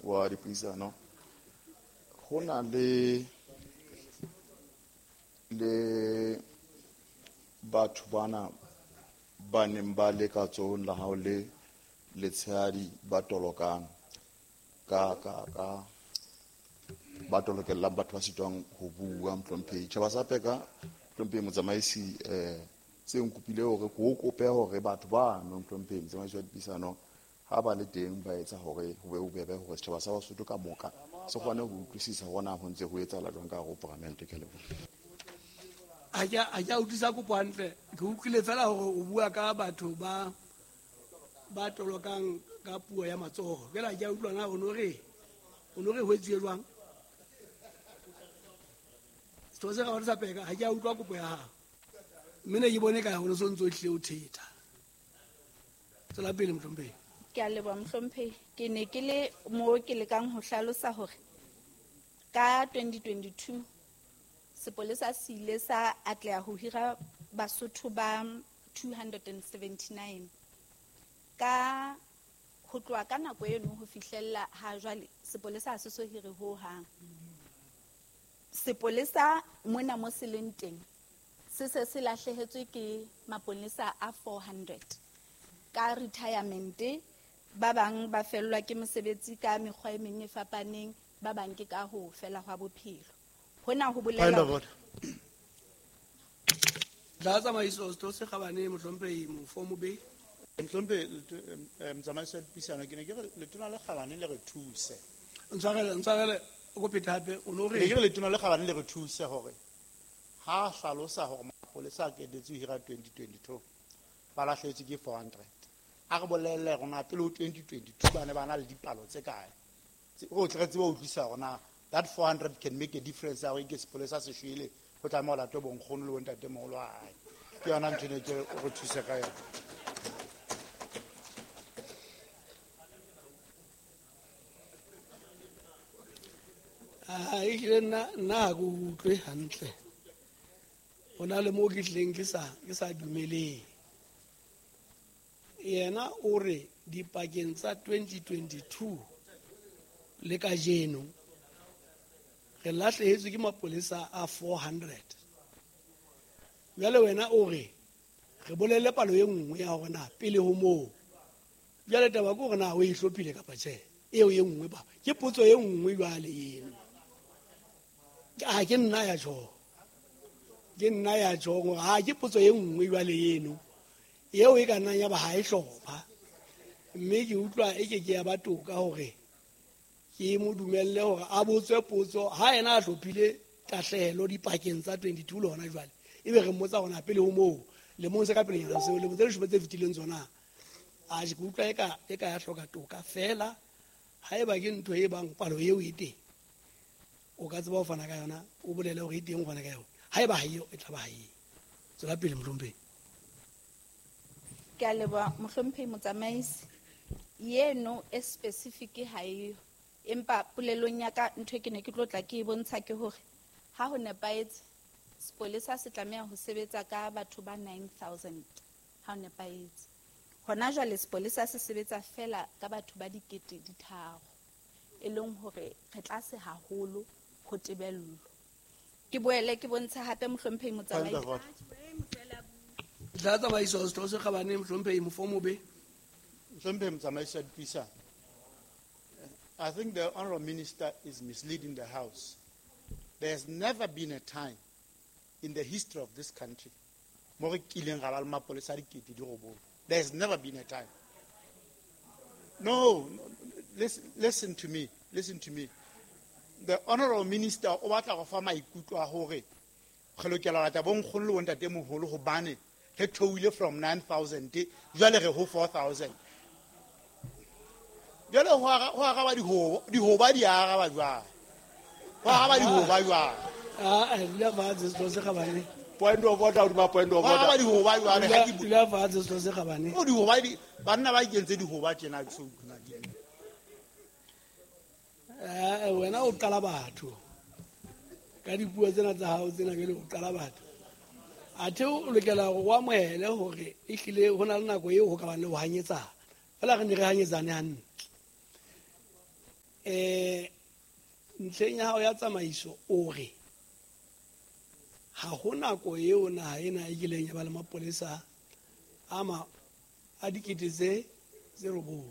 wa dipuisano, ho na le batho bana ba neng ba le ka tsohong la hao le letshehadi ba tolokang ka ba tolokellang batho ba sitwang ho bua, mohlomphehi. Tjhaba sa Peka, mohlomphehi motsamaisi, se nkopile hore ke o kope hore batho bano, mohlomphehi motsamaisi wa dipuisano, ha ba le teng ba etsa hore ho be bobebe hore setjhaba sa Basotho ka moka se kgone ho utlwisisa hore na ho ntse ho etsahala jwang ka hare ho paramente. Ke a leboha. Ha ke a utlwisa kopo hantle, ke utlwile fela hore o bua ka batho ba tolokang ka puo ya matsoho. Jwale ha ke a utlwa na o no re ho etsuwe jwang. Setho se kgabane sa Peka, ha ke a utlwa kopo ya hao. Mme ne ke bone ka ho no so ntso hlile o thetha. Tswela pele, mohlomphehi. Ke a leboha, mohlomphehi. Ke ne ke le mo ke lekang ho hlalosa hore ka 2022 sepolesa se ile sa atleha ho hira Basotho ba 279. Ka ho tloha ka nako eno ho fihlella ha jwale sepolesa ha se so hire ho hang. Sepolesa mona mo se leng teng se se se lahlehetswe ke maponesa a 400 ka retirement, ba bang ba fellwa ke mosebetsi ka mekgwa e meng e fapaneng, ba bang ke ka ho fela hwa bophelo. Hona ho bolela tla tsamaiso setho se kgabane, mohlomphehi Mofomobe. Mohlomphehi motsamaisi wa dipuisano, ke ne ke re letona le kgabane le re thuse. Ntshwarele o ko phete hape, o no re ne ke re letona le kgabane le re thuse hore ha hlalosa hore mapolesa a qetetse ho hira 2022 ba lahlehetswe ke 400. A re bolelle rona pele ho 2022 ba ne ba na le dipalo tse kae. Re tle re tsebe ho utlwisisa hore na that 400 can make a difference ya hore ke sepolesa se shwele, ho tlameha ho latwe bonkgono le bontatemoholo wa hae. Ke yona ntho ne ke re thuse ka yona. Ehlile nna ha ke utlwe hantle. Ho na le moo ke hlileng ke sa dumeleng. Yena o re dipakeng tsa 2022 le kajeno re lahlehetswe ke mapolesa a 400. Jwale wena o re re bolelle palo e nngwe ya hore na pele ho moo. Jwale taba ke hore na o e hlophile kapa tjhe. Eo e nngwe ba ke potso e nngwe jwale eno. Ha ke nna ya tjho. Ke nna ya tjho hore ha ke potso e nngwe jwale eno. Eo e ka nnang ya ba ha e hlopha. Mme ke utlwa e ke ke ya ba toka hore ke mo dumelle hore a botswe potso ha yena a hlophile tahlehelo dipakeng tsa 22 le hona jwale. Ebe re mmotsa hore na pele ho moo lemong se ka pelenyana seo, lemong tse leshome tse fetileng tsona. A ke utlwa e ka ya hloka toka fela. Haeba ke ntho e bang palo eo e teng, o ka tseba ho fana ka yona, o bolele hore e teng o fana ka yona. Haeba ha eo, e tla ba ha eo. Tswela pele, mohlomphehi. Ke a leboha, mohlomphehi motsamaisi. Yeno e specific ha eyo. Empa polelong ya ka ntho e ke ne ke tlo tla ke e bontsha ke hore ha ho nepahetse sepolesa se tlameha ho sebetsa ka batho ba 9000 ha ho nepahetse. Hona jwale sepolesa se sebetsa fela ka batho ba 3,000, e leng hore re tlase haholo ho tebello. Ke boele ke bontshe hape mohlomphehi motsamaisi. Tla tsamaiso setho se kgabane, mohlomphehi Mofomobe. Mohlomphehi motsamaisi wa dipuisano, I think the Honorable Minister is misleading the House. There has never been a time in the history of this country mo re kileng ra ba le mapolesa a 9,000. There has never been a time. No, listen to me. Listen to me. The Honorable Minister o batla go fa maikutlo a hore re lokela ho lata bonkgono le bontatemoholo hobane re theohile from 9,000 jwale re ho 4,000. Jwale ho araba dihoba di araba jwang? Ho araba dihoba jwang? Dula fatshe setho se kgabane. Point of order, hodima point of order. Ho araba dihoba jwale, ha ke bu- Dula fatshe setho se kgabane. Oh, dihoba di, banna ba ikentse dihoba tjena, ke so utlwe di. Wena o qala batho. Ka dipuo tsena tsa hao tsena jwale o qala batho. Athe o lokela hore o amohele hore ehlile ho na le nako eo ho ka bang le ho hanyetsana. Feela re ne re hanyetsane hantle. Ntlheng ya hao ya tsamaiso o re ha ho nako eo naha ena e kileng ya ba le mapolesa a a dikete tse 9.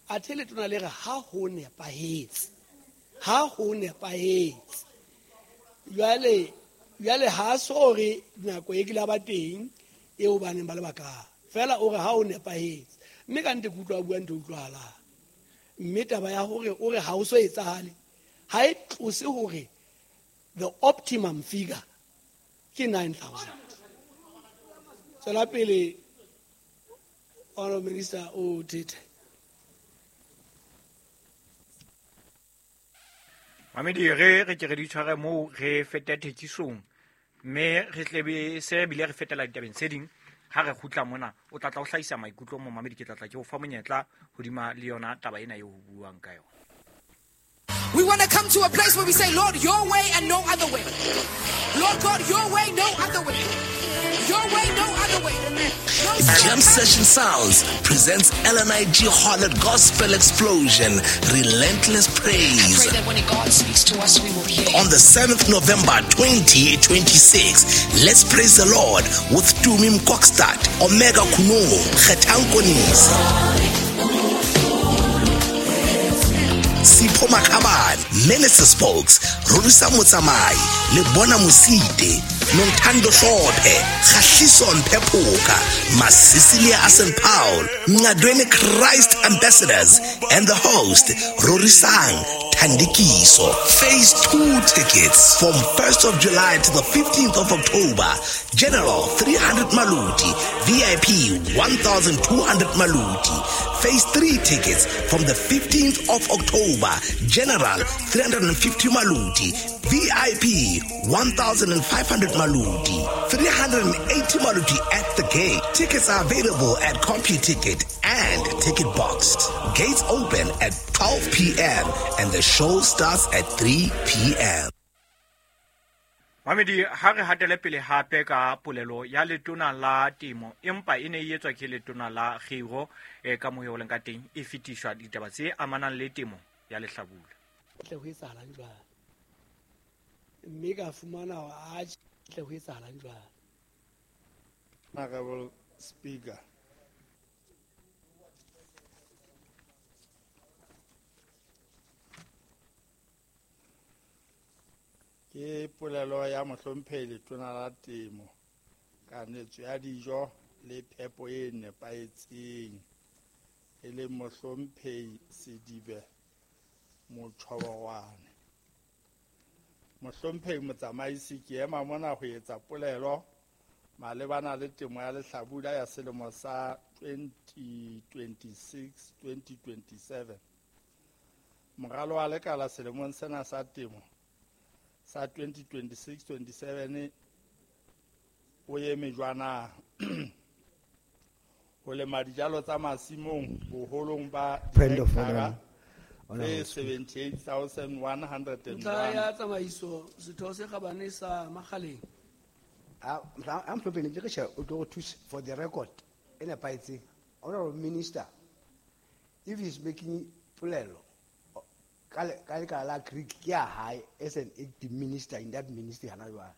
Athe letona le re ha ho nepahetse. Ha ho nepahetse. Jwale ha so re nako e kile ba teng eo ba neng ba le baka. Fela o re ha ho nepahetse. Mme ka nnete ke utlwa bua ntho utlwahala. Mme taba ya hore o re ha o so etsahale ha e tlose hore the optimum figure ke 9,000. Tswela pele Honorable Minister o thethe. Mamedi re ke re di tshware moo re feta thekisong mme re tlebe se bile re fetela ditabeng tse ding ha re kgutla mona o tla tla o hlahisa maikutlo mo mamedi ke tla tla ke o fa monyetla hodima le yona taba ena eo ho buang ka yona. We want to come to a place where we say, Lord, your way and no other way. Lord God, your way, no other way. Your way, no other way. No. Jam Session Sounds presents LNIG Harlot Gospel Explosion, Relentless Praise. I pray that when God speaks to us, we will hear. On the 7th November 2026, let's praise the Lord with Tumi Mkokstad, Omega Kuno, Kgetang Konisi, Sipho Makhabane, Minister Spokes, Rorisa Motsamai, Lebona Mosite, Nontando Hlophe, Khahliso Mpephoka, Masisilia Asen Paul, Ngadweni Christ Ambassadors, and the host, Rorisang Thandikiso. Phase 2 tickets from 1st of July to the 15th of October. General 300 Maluti, VIP 1,200 Maluti. Phase 3 tickets from the 15th of October. General 350 Maluti, VIP 1,500 Maluti, 380 Maluti at the gate. Tickets are available at CompuTicket and Ticket Box. Gates open at 12 p.m. and the show starts at 3 p.m. Mamedi ha re hatele pele hape ka polelo ya letona la temo empa e ne e etswa ke letona la kgiro ka moyo o leng ka teng e fetiswa ditaba tse amanang le temo ya lehlabula. Tle ho etsahalang jwale? Mme ka fumana hore a tle ho etsahalang jwale? Honorable Speaker, ke polelo ya mohlomphehi letona la temo kanetso ya dijo le phepo e nepahetseng e leng mohlomphehi Sedibe Motjhobowane. Mohlomphehi motsamaisi, ke ema mona ho etsa polelo malebana le temo ya lehlabula ya selemo sa 2026-2027. Moralo wa lekala selemong sena sa temo sa 2026-27 o eme jwana ho lema dijalo tsa masimong boholong ba dihekthara tse 78,101. Ntlha ya tsamaiso setho se kgabane sa Makgaleng. I'm for the record, Honorable Minister, if he's making polelo ka lekala la Greek ke ya hae as an active minister in that ministry hana jwale.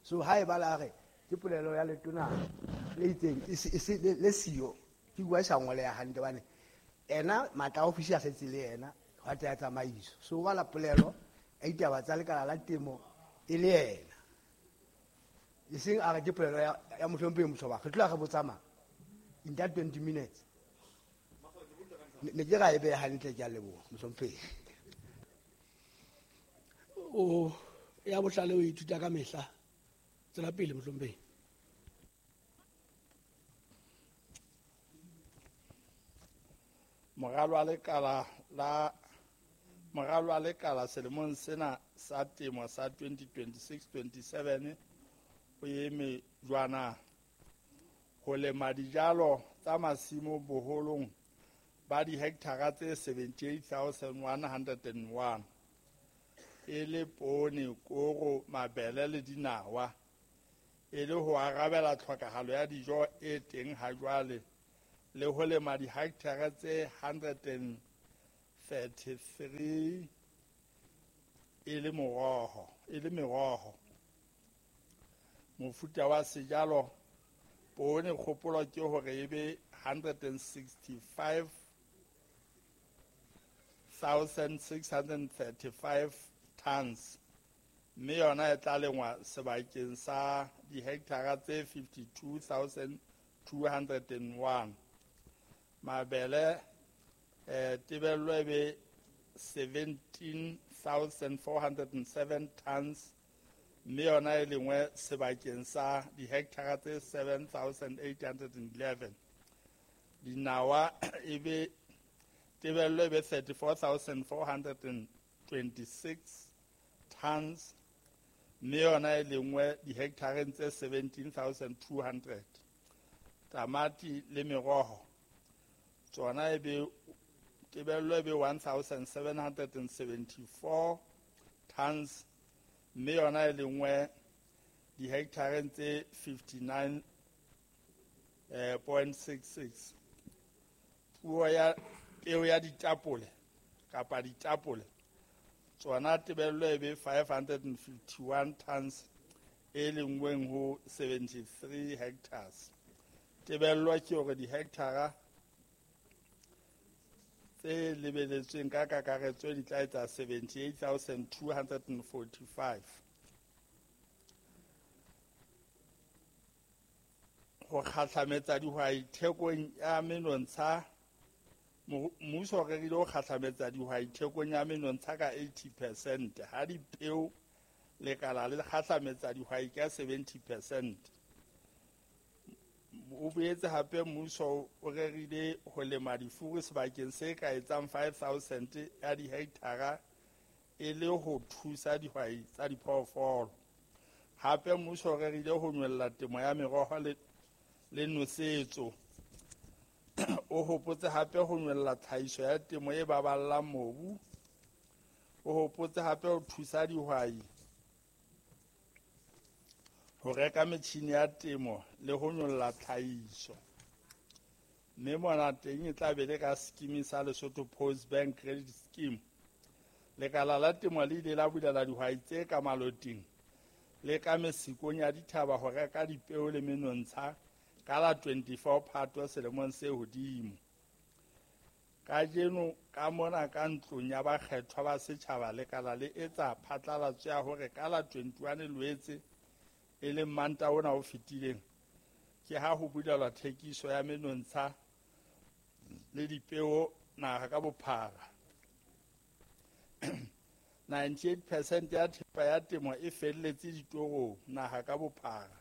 So ha e ba la re ke polelo ya letona le itseng le siyo ke bua sa ngoleha hantle bane ena matla ofisi a setse le ena hwa tsa tsamaiso. So ba la polelo a ditaba tsa lekala la temo e le ena. E seng a re ke polelo ya mohlomphehi Motjhoba re tloha re botsamaya in that 20 minutes. Ne ke ra e beha hantle ke a leboha mohlomphehi. O ya bohlale o ithuta ka mehla. Tswela pele mohlomphehi. Moralo wa lekala selemong sena sa temo sa 2026-27 o eme jwana ho lema dijalo tsa masimo boholong ba dihekthara tse 78,101 e le poone, koro, mabele le dinawa e le ho arabela tlhokahalo ya dijo e teng ha jwale le ho lema dihekthara tse 33 e le meroho. Mofuta wa sejalo poone kgopolo ke hore e be 165,635 tons, mme yona e tla lengwa sebakeng sa dihekthara tse 52,201. Mabele tebello e be 17,407 tons, mme yona e lengwe sebakeng sa dihekthara tse 7,811. Dinawa e be tebello e be 34,426 tons, mme yona e lengwe dihekthareng tse 17,200. Tamati le meroho tsona e be tebello e be 1,774 tons, mme yona e lengwe dihekthareng tse 59.66. Puo ya peo ya ditapole kapa ditapole tsona tebello e be 551 tons e lengweng ho 73 hectares. Tebello ke hore dihekthara tse lebeletsweng ka kakaretso di tla etsa 78,245. Ho kgahlametsa dihwai thekong ya menontsha, mmuso o rerile ho kgahlametsa dihwai thekong ya menontsha ka 80%, ha dipeo lekala le kgahlametsa dihwai ka 70%. O boetse hape mmuso o rerile ho lema difuru sebakeng se ka etsang 5,000 ya dihekthara e le ho thusa dihwai tsa diphoofolo. Hape mmuso o rerile ho nyolla temo ya meroho le nosetso. O hopotse hape ho nyolla tlhahiso ya temo e baballang mobu. O hopotse hape ho thusa dihwai ho reka metjhini ya temo le ho nyolla tlhahiso. Mme mona teng e tla be le ka scheme sa Lesotho Post Bank Credit Scheme. Lekala la temo le ile la bulela dihwai tse ka maloting le ka mesikong ya dithaba ho reka dipeo le menontsha ka la 24 Phato selemong se hodimo. Kajeno ka mona ka ntlong ya bakgethwa ba setjhaba lekala le etsa phatlalatso ya hore ka la 21 Loetse e leng Mantaha ona o fetileng ke ha ho bulelwa thekiso ya menontsha le dipeo naha ka bophara. 98% ya thepa ya temo e felletse ditorong naha ka bophara.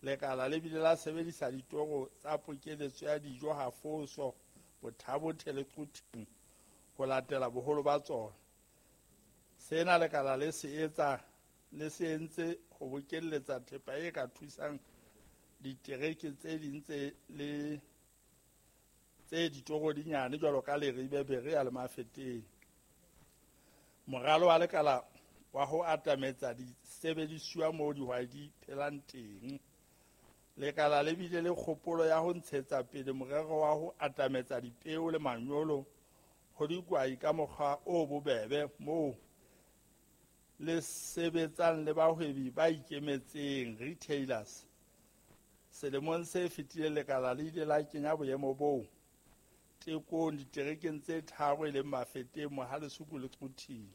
Lekala le bile la sebedisa ditoro tsa pokeletso ya dijo Hafoso, Bothabothe le Quthing ho latela boholo ba tsona. Sena lekala le se etsa le se entse ho bokelletsa thepa e ka thusang ditereke tse ding tse le tse ditoro di nyane jwalo ka Leribe, Berea le Mafeteng. Moralo wa lekala wa ho atametsa disebedisuwa moo dihwai di phelang teng. Lekala le bile le kgopolo ya ho ntshetsa pele morero wa ho atametsa dipeo le manyolo ho dihwai ka mokgwa o bobebe moo le sebetsang le bahwebi ba ikemetseng retailers. Selemong se fetileng lekala le ile la kenya boemo boo tekong diterekeng tse tharo e leng Mafeteng, Mohalesuku le Quthing,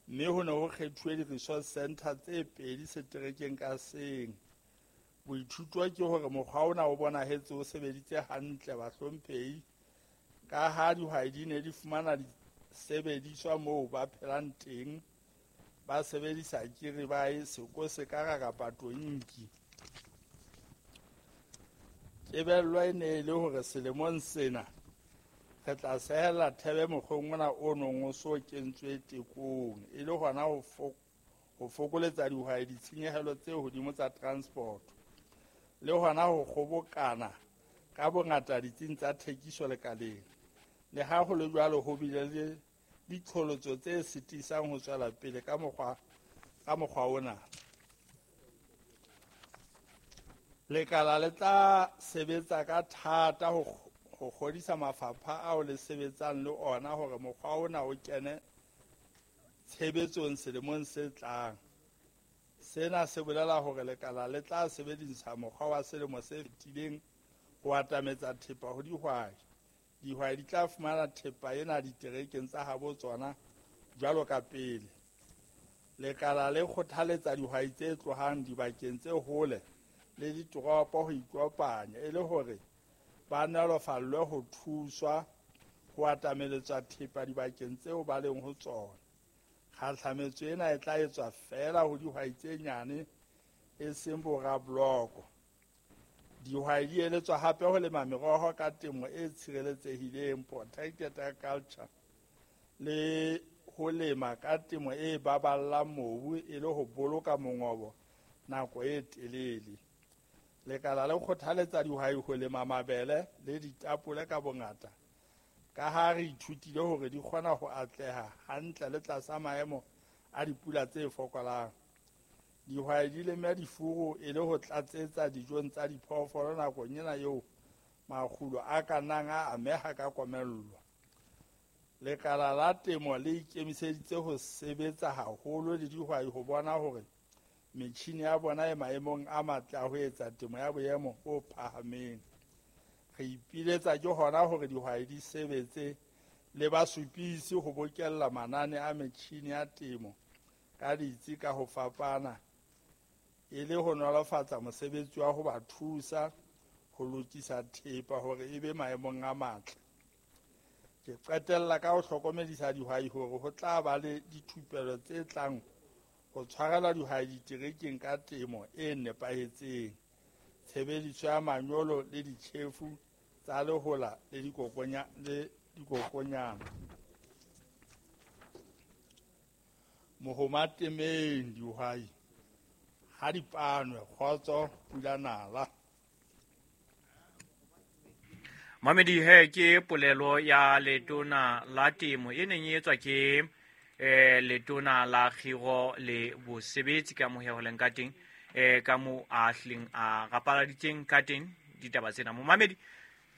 mme ho ne ho kgethuwe di-resource center tse pedi seterekeng ka seng. Boithuto ke hore mokgwa ona o bonahetse o sebeditse hantle bahlomphehi, ka ha dihwai di ne di fumana disebediswa moo ba phelang teng, ba sebedisa kiribae, sekosekara kapa tonki. Tebello e ne e le hore selemong sena re tla sehella thebe mokgweng ona o nong o so kentswe tekong, e le hona ho fokoletsa dihwai ditshenyehelo tse hodimo tsa transport le hona ho kgobokana ka bongata ditsing tsa thekiso lekaleng. Le ha ho le jwalo, ho bile le diqholotso tse sitisang ho tswela pele ka mokgwa ona. Lekala le tla sebetsa ka thata ho ho kgodisa mafapha ao le sebetsang le ona hore mokgwa ona o kene tshebetsong selemong se tlang. Sena se bolela hore lekala le tla sebedisa mokgwa wa selemo se fetileng ho atametsa thepa ho dihwai. Dihwai di tla fumana thepa ena diterekeng tsa habo tsona jwalo ka pele. Lekala le kgothaletsa dihwai tse tlohang dibakeng tse hole le ditoropo ho ikopanya e le hore ba nolofallwe ho thuswa ho atameletswa thepa dibakeng tseo ba leng ho tsona. Kgahlametso ena e tla etswa feela ho dihwai tse nyane e seng borabloko. Dihwai di eletswa hape ho lema meroho ka temo e tshireletsehileng, protected agriculture, le ho lema ka temo e baballang mobu e le ho boloka mongobo nako e telele. Lekala le kgothaletsa dihwai ho lema mabele le ditapole ka bongata ka ha re ithutile hore di kgona ho atleha hantle le tlasa maemo a dipula tse fokolang. Dihwai di leme difuru e le ho tlatsetsa dijong tsa diphoofolo nakong ena eo makgulo a ka nnang a ameha ka komello. Lekala la temo le ikemiseditse ho sebetsa haholo le dihwai ho bona hore metjhini ya bona e maemong a matle a ho etsa temo ya boemo bo phahameng. Re ipiletsa ke hona hore dihwai di sebetse le basupisi ho bokella manane a metjhini ya temo ka ditsi ka ho fapana e le ho nolofatsa mosebetsi wa ho ba thusa ho lokisa thepa hore e be maemong a matle. Ke qetella ka ho hlokomedisa dihwai hore ho tla ba le dithupelo tse tlang ho tshwarelwa dihwai diterekeng ka temo e nepahetseng, tshebediso ya manyolo le ditjhefu tsa lehola le dikokonyana. Mohoma temeng dihwai ha di panwe, kgotso pula nala. Mamedi he ke polelo ya letona la temo e neng e etswa ke letona la kgiro le bosebetsi ka mohe ho leng ka teng ka mo a hlileng a rapaladitseng ka teng ditaba tsena. Momamedi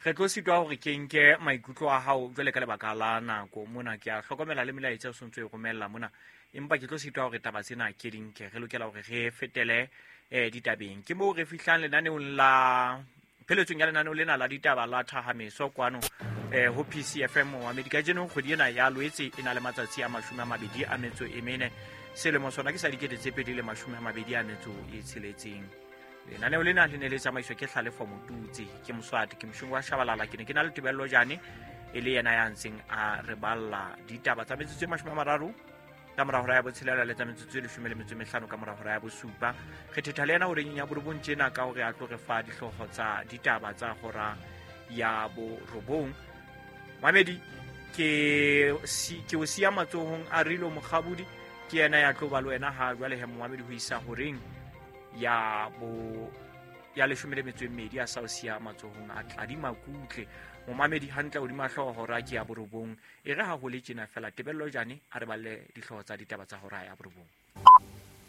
re tlo sitwa hore ke nke maikutlo a hao jwale ka lebaka la nako mona. Ke a hlokomela le melaetsa o sontso e romella mona, empa ke tlo sitwa hore taba tsena ke di nke. Re lokela hore re fetele ditabeng. Ke moo re fihlang lenaneong la pheletsong ya lenaneo lena la ditaba la Thahameso kwano ho PCFM. Momamedi kajeno kgwedi ena ya Loetse e na le matsatsi a 24 selemo sona ke sa 2026. Lenaneo lena le ne le tsamaiswa ke Hlalefo Motutsi, ke Moswati, ke Moshungu wa Shabalala. Ke ne ke na le Tebello Jane e le yena ya ntseng a re balla ditaba tsa metsotso e 30 ka mora hora ya botshelela le tsa metsotso e 15 ka mora hora ya bosupa. Re thetha le yena horeng ya borobong tjena ka hore a tlo re fa dihlooho tsa ditaba tsa hora ya borobong. Mamedi ke o siya matsohong a Rilo Mokgabudi, ke yena ya tlo ba le wena ha jwale he momamedi ho isa horeng ya 12 a sa o siya matsohong a Tladi Makutle. Momamedi hantle hodima hlooho hora ke ya borobong. E re ha ho le tjena fela Tebello Jane a re balle dihlooho tsa ditaba tsa hora ya borobong.